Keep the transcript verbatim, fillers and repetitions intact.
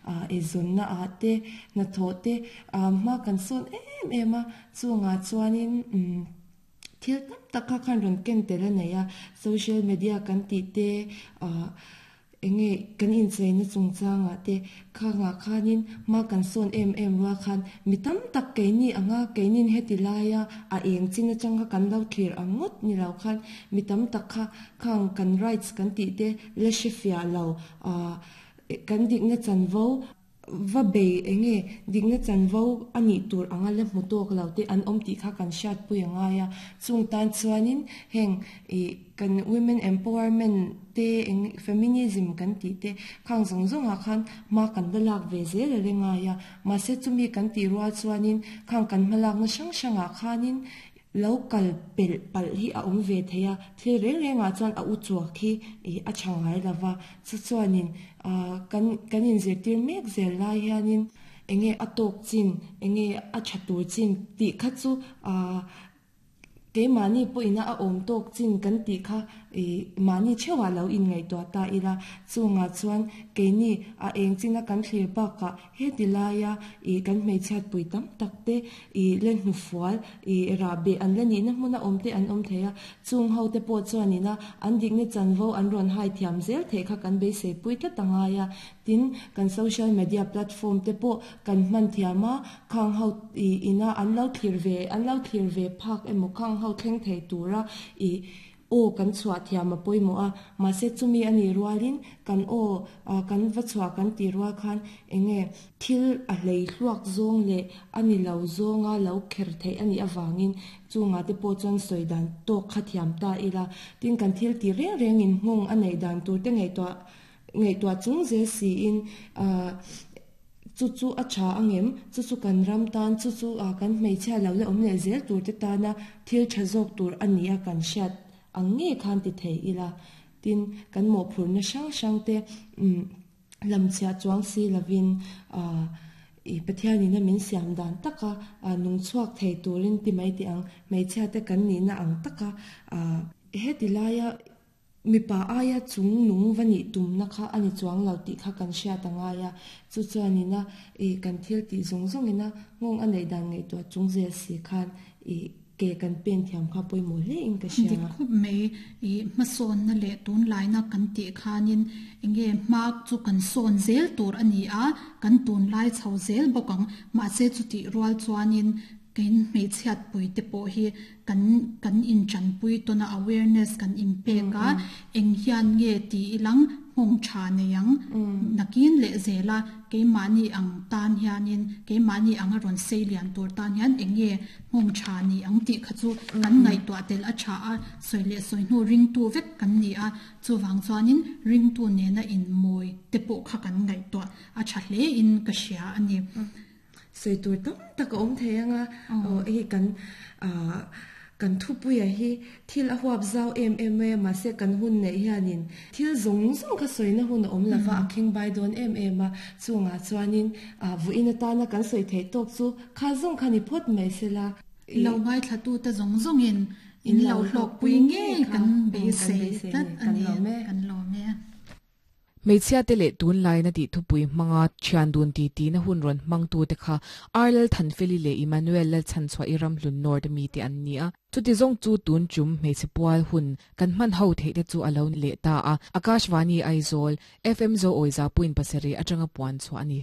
Eizawnna ah te hnathawh te hma kan sawn em em a chungah chuanin umm thil tam tak kha khan rawn ken tel a nei a social media kan tih te ah enge kan incheina chungchangah te khangah khanin hma kan sawn em em rual khan mi tam tak keini anga keinin heti laia a eng chin atanga kan lo thlir ang ngawt ni lo khan mi tam tak kha khang kan rights kan tih te la hre fiah lo ah kan dikna chanvo va bei enge dikna chanvo a nih tur anga la hmu tawk lo te an awm tih kha kan hriat pui a ngai a chung tan chuanin heng ih kan women empowerment te eng feminism kan tih te khang zawng zawngah khan hma kan la lak ve zel a le ngai a mahse chumi kan tih rual chuanin khang kan hma lakna hrang hrangah khanin lo kal pelh palh hi a awm ve thei a thil reng rengah chuan a u chuak hi ih a tha ngai lova chu chuanin ah kan kan inzirtir mek zel lai hianin enge a tawk chin enge a tha tur chin tih kha chu ah keimahni pawhin a awm tawk chin kan tih kha ih mahni theuhah lo inngaihtuah ta ila chungah chuan keini a eng china kan thlir bakah heti laia ih kan hmeichhiat pui tam tak te ih le hnufual ih rahbeh an la nihna hmuna awm te an awm thei a chung ho te pawh chuanina an dikna chanvo an rawn hai thiam zel theih kha kan beisei pui tlat a ngai a tin kan social media platform te pawh kan hman thiam a khang ho ih ina an lo thlir ve an lo thlir ve phak emaw khang ho thleng thei tura ih aw kan chhuah thiam a pawimawh a mahse chumi a nih rualin kan aw kan va chhuah kan tih rual khan enge thil a hlei hluak zawng leh a ni lo zawnga lo kher theih a nih avangin chungah te pawh chuan sawi dan tawk kha thiam ta ila tin kan thil tih reng rengin nghawng a neih dan tur te ngaihtuah ngaihtuah chung zel siin ah chu chu a tha angem chu chu kan ram tan chu chu kan hmeichhia lo la awm leh zel tur te tana thil tha zawk tur a ni a kan hriat ang nge khan ti thei ila tin kan mawhphurhna hrang hrang te umm lamchhiah chuang si lovin ah ih Pathianin a min siam dan taka nung chhuak thei turin ti mai teh ang hmeichhia te kan nihna ang taka ah heti laia mipa aia chung nung va nih tumna kha a ni chuang lo tih kha kan hriat a ngai a chu chuanina ih kan thil tih zawng zawngina nghawng a neih dan ngaihtuah chung zel si khan ih ke kan pen thiam kha pawimawh hle in ka hria. Dik khawp mai ih hmasawnna leh tunlaina kan tih khanin enge hma chu kan sawn zel tur a ni a kan tunlai chho zel bawk ang mahse chutih rual chuanin kan hmeichhiat pui te pawh hi kan kan inchanpui tawna awareness kan inpek a eng hian nge ti ilang nghawng tha nei ang nakin leh zela keimahni ang tan hianin keimahni ang a rawn sei lian tur tan hian enge nghawng tha ni ang tih kha chu kan ngaihtuah tel a tha a sawi leh sawi hnu ringtu vek kan ni a chuwang chuanin ringtu nena in mawi te pawh kha kan ngaihtuah a tha hle in ka hria a ni. Sawi tur tam tak a awm thei anga aw hei kan ah kan thupuia hi thil a huap zau em em mai a mahse kan hun neih hianin thil zawng zawng kha sawina hun a awm lova a khing bai dawn em em a chungah chuanin ah vawiin atana kan sawi theih tawk chu kha zawng kha ni phawt mai sela. Lo ngaithlatu te zawng zawngin in lo hlawkpui ngei kan beisei tlat a ni kan lawm e. Hmeichhia te leh tunlaina tih thupui hmanga thian dun ti ti na hun rawn hmangtu te kha Arlal Thanfeli leh Emmanuel Lalchhanchhuah i ram hlun North mi te an ni a chuti zawng chu tun tum hmeichhe pual hun kan hman ho theih te chu a lo leh ta a Akashvani Aizawl F M Zo Awiza point pasarih atanga puan chhuah a ni.